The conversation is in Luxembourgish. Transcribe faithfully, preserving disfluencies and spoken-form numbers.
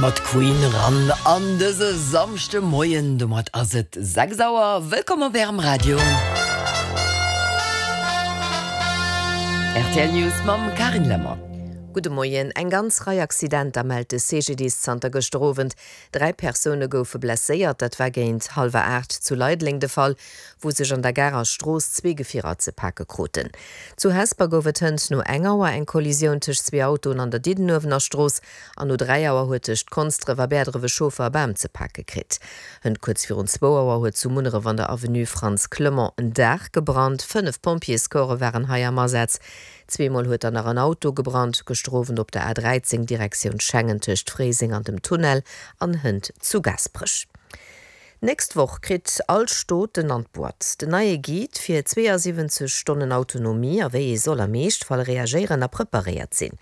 Mat Queen ran an dëse Samschdemoien, domat ass et sechs Auer. Wëllkomm op Ärem Radio. Rtl News mam Carine Lemmer. Gudde Moien. Eng ganz Rei Accidenter mellt de C G D I S zanter gëschter Owend. Dräi Persoune goufe blesséiert. Dat war géint hallwer aacht zu Leideleng de Fall, wou sech an der Garer Strooss zwee Gefierer ze pake kruten. Zu Hesper gouf et hënt no eng Auer eng Kollisioun tëscht zwee Autoen an der Diddenuewener Strooss an no dräi Auer huet tëscht Konsdref a Bäerdref e Chauffer e Bam ze pake kritt. Hënt kuerz virun zwou Auer huet zu Munneref an der Avenue Frantz Clement en Daach gebrannt. Fënnef Pompjeescorpse waren hei am Asaz. Zweemol huet dann nach en Auto gebrannt, gëschter Owend op der A dräizéng Direktioun Schengen tëscht Fréiseng an dem Tunnel an hënt zu Gaasperech. D'nächst Woch kritt all Stot en an d'Boîte den neie Guide fir zweeësiwwenzeg Stonnen Autonomie a wéi ee soll am Eeschtfall reagéieren a preparéiert sinn.